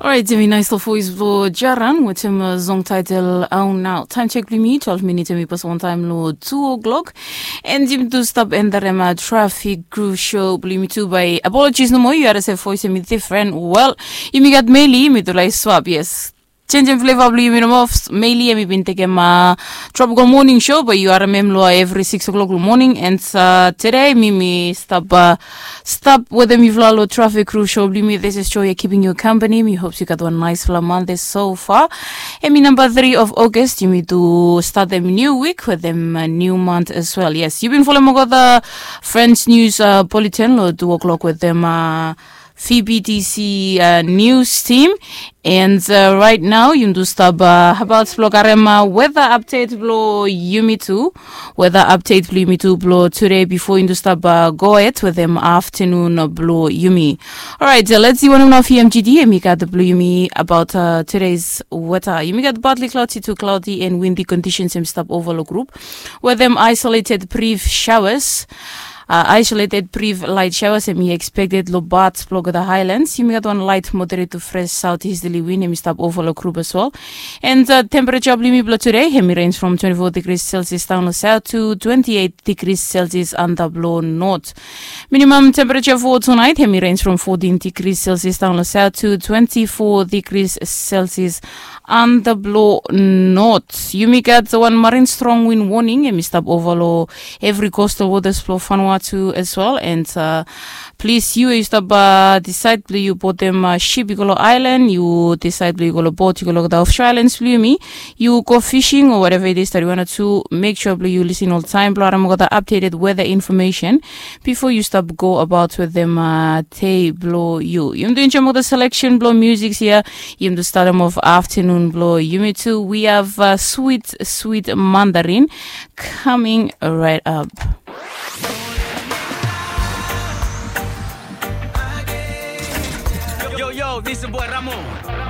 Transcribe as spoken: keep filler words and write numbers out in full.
Orait, yumi nais long voes blong Jaran wetem song taitel Au Nau. Taem sek blong yumi twelve minits, yumi pas wantaem long two o'clock. And yumi tu stap enterem traffic crew show blong yumi tu by apologies nomo, yu harim se voes yumi different. Well, yumi gat Meili, yumi tu laik swap, yes. Changing flavor blong yumi nomo. Meili, yumi bin tekem uh, tropical morning show, but yu harim em long every six o'clock long morning. And uh, today, mi mi stap uh, stap wetem yufala long traffic crew show blong yumi. This is Joy, keeping you company. Mi hope yu gat wan naisfala Monday so far. Hemi namba three of August, yumi tu statem new week wetem uh, new month as well. Yes, yu bin folem olgeta French news uh, bulletin long two o'clock wetem uh, V B T C uh, news team. And uh, right now, yumi tu stap uh, about blong karem uh, weather update blong yumi tu. Weather update blong yumi tu blong today before yumi tu stap uh, go ahead wetem afternoon blong yumi. Alright, uh, let's see wanem nao V M G D hemi gat blong yumi about uh, today's weather. Yumi gat partly cloudy to cloudy and windy conditions hemi stap ova long group wetem isolated brief showers. Uh, isolated brief light showers hemi expected long parts blong the highlands. Yumi gat wan light moderate to fresh southeasterly wind hemi stap ova long group as well. And uh, temperature blong yumi blong today hemi range from twenty-four degrees Celsius down long south to twenty-eight degrees Celsius antap long north. Minimum temperature for tonight hemi range from fourteen degrees Celsius down long south to twenty-four degrees Celsius antap long north. Yumi gat wan marine strong wind warning hemi stap ova long every coastal waters blong Vanuatu as well. And uh, plis yu we yu stap uh, decide blong yu botem uh, ship yu go long island, yu decide blong yu go long boat, yu go long the offshore islands blong yumi, yu go fishing or whatever it is that you wanna do, make sure blong yu listen oltaem blong harim olgeta updated weather information before yu stap go about wetem uh, day blong yu. Yumi tu enjoem olgeta selection blong music hia. Yumi tu statem of afternoon blong yumi tu. We have uh, sweet sweet mandarin coming right up. Yo, yo, this is boy Ramo.